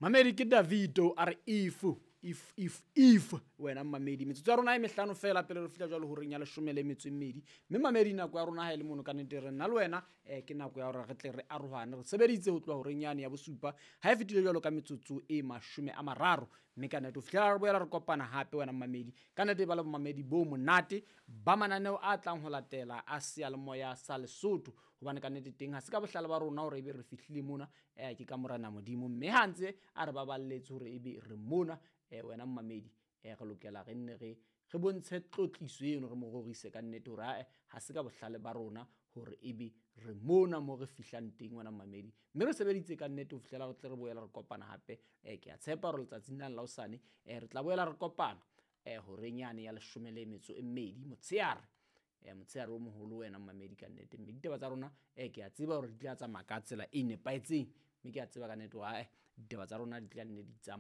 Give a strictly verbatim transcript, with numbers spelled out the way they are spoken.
Mamedi ke Davido a re if if if if wena mamedi. Metsotso ya rona e mehlano fela pele re fihla jwalo horeng ya leshome le metso e mmedi. Mme mamedi, nako ya rona ha e le mono ka nnete re nna le wena um ke nako ya hore re tle re arohane. Re sebeditse ho tloha horeng yane ya bosupa ha e fetile jwalo ka metsotso e mashome a mararo. Mme ka nnete ho fihlela re boela re kopana hape wena mamedi, ka nnete ba le bomamedi bo monate ba mananeo a tlang ho latela a seyalemoya sa Lesotho. Hobane ka nnete teng ha se ka bohlale ba rona hore ebe re fihlile mona, um ke ka morena Modimo. Mme ha ntse a re baballetse hore ebe re mona, um wena mmamedi, um re lokela re nne re re bontshe tlotliso eno, re mo rorise ka nnete hore ae ha se ka bohlale ba rona hore ebe re mona mo re fihlang teng wena mmamedi. Mme re sebeditse ka nnete ho fihlela re tle re boela re kopana hape. um Ke a tshepa hore letsatsing lane la hosane um re tla boela re kopana um horeng yane ya leshome le metso e mmedi motshehare. um Motshehare o moholo wena mmamedi ka nnete. Mme ditaba tsa rona um ke a tseba hore di tla tsamaya ka tsela e nepahetseng. Mme ke a tseba ka nnete hore ae ditaba tsa rona di tla nne di tsamaya.